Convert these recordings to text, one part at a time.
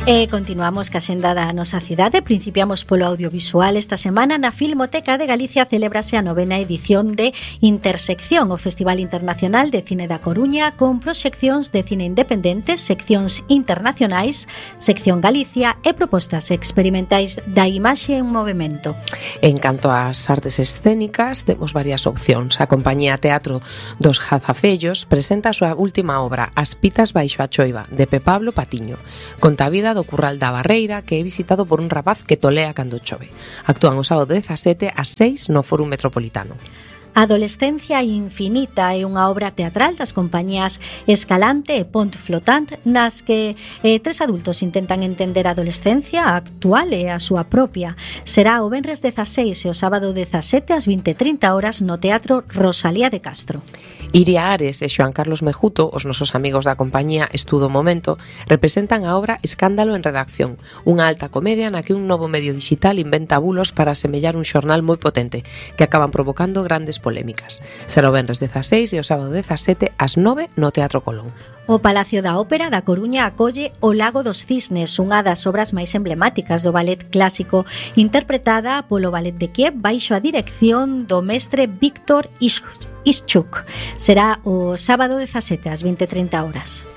E continuamos ca xenda da nosa cidade. Principiamos polo audiovisual. Esta semana na Filmoteca de Galicia celébrase a 9ª edición de Intersección, o Festival Internacional de Cine da Coruña, con proxeccións de cine independentes, seccións internacionais, sección Galicia e propostas experimentais da imaxe en movimento. En canto ás artes escénicas, temos varias opcións. A compañía Teatro dos Jazafellos presenta a súa última obra, As pitas baixo a choiva, de Pablo Patiño. Conta a vida do Curral da Barreira, que é visitado por un rapaz que tolea cando chove. Actúan o sábado 17 ás 6 no Fórum Metropolitano. Adolescencia infinita é unha obra teatral das compañías Escalante e Pont Flotant, nas que tres adultos intentan entender a adolescencia actual e a súa propia. Será o venres 16 e o sábado 17 ás 20:30 horas no Teatro Rosalía de Castro. Iria Ares e Xoan Carlos Mejuto, os nosos amigos da compañía Estudo Momento, representan a obra Escándalo en redacción, unha alta comedia na que un novo medio digital inventa bulos para asemellar un xornal moi potente, que acaban provocando grandes polémicas. Será o venres 16 e o sábado 17 ás 9 no Teatro Colón. O Palacio da Ópera da Coruña acolle O Lago dos Cisnes, unha das obras máis emblemáticas do ballet clásico, interpretada polo Ballet de Kiev baixo a dirección do mestre Víctor Ischuk. Será o sábado 17 ás 20:30 horas.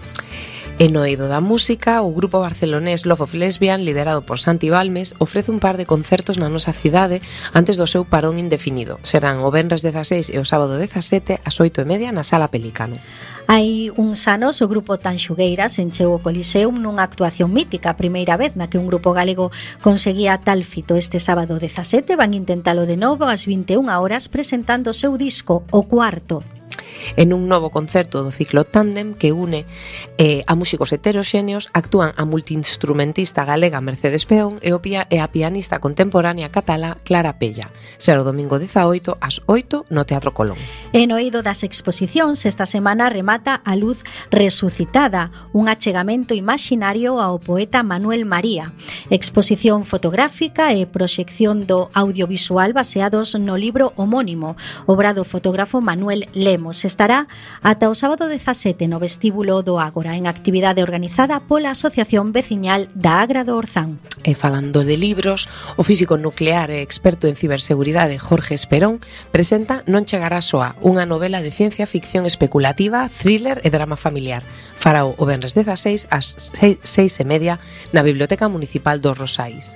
E no eido da música, o grupo barcelonés Love of Lesbian, liderado por Santi Balmes, ofrece un par de concertos na nosa cidade antes do seu parón indefinido. Serán o venres 16 e o sábado 17 ás 8:30 na Sala Pelicano. Hai uns anos o grupo Tanxugueiras encheu o Coliseum nunha actuación mítica, a primeira vez na que un grupo galego conseguía tal fito. Este sábado 17 van intentalo de novo ás 21 horas presentando o seu disco, O Cuarto. En un novo concerto do ciclo Tándem que une a músicos heteroxéneos, actúan a multiinstrumentista galega Mercedes Peón e a pianista contemporánea catalá Clara Pella. Será o domingo 18 ás 8 no Teatro Colón. E no eido das exposicións, esta semana remata A Luz Resucitada, un achegamento imaxinario ao poeta Manuel María. Exposición fotográfica e proxección do audiovisual baseados no libro homónimo, obra do fotógrafo Manuel Lemos. Estará ata o sábado 17 no vestíbulo do Ágora, en actividade organizada pola Asociación Veciñal da Agra do Orzán. E falando de libros, o físico nuclear e experto en ciberseguridade Jorge Esperón presenta Non chegará soa, unha novela de ciencia ficción especulativa, thriller e drama familiar. Farao o venres 16 ás 6:30 na Biblioteca Municipal dos Rosais.